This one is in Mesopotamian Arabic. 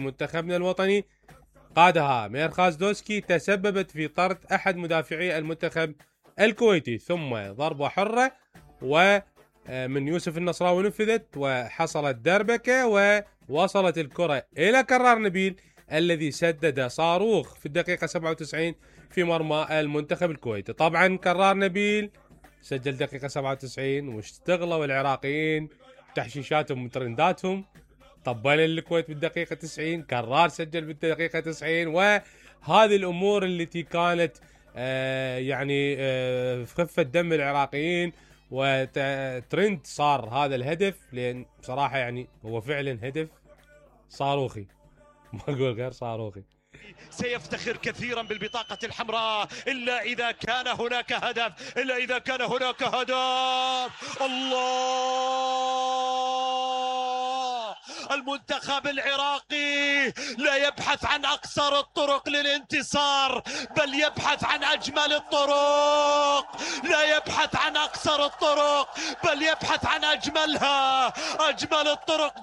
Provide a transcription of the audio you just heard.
منتخبنا الوطني قادها ميرخاز دوسكي تسببت في طرد أحد مدافعي المنتخب الكويتي، ثم ضربة حرة ومن يوسف النصراوي نفذت وحصلت دربكة ووصلت الكرة إلى كرار نبيل الذي سدد صاروخ في الدقيقة 97 في مرمى المنتخب الكويتي. طبعا كرار نبيل سجل دقيقة 97 واشتغلوا العراقيين تحشيشاتهم وترنداتهم، طبل الكويت بالدقيقة 90، كرار سجل بالدقيقة 90، وهذه الأمور التي كانت يعني في خفة دم العراقيين وترند صار هذا الهدف، لأن بصراحة يعني هو فعلا هدف صاروخي، ما أقول غير صاروخي. سيفتخر كثيرا بالبطاقة الحمراء إلا إذا كان هناك هدف، إلا إذا كان هناك هدف. الله، المنتخب العراقي لا يبحث عن أقصر الطرق للانتصار، بل يبحث عن أجمل الطرق، لا يبحث عن أقصر الطرق بل يبحث عن أجملها، أجمل الطرق.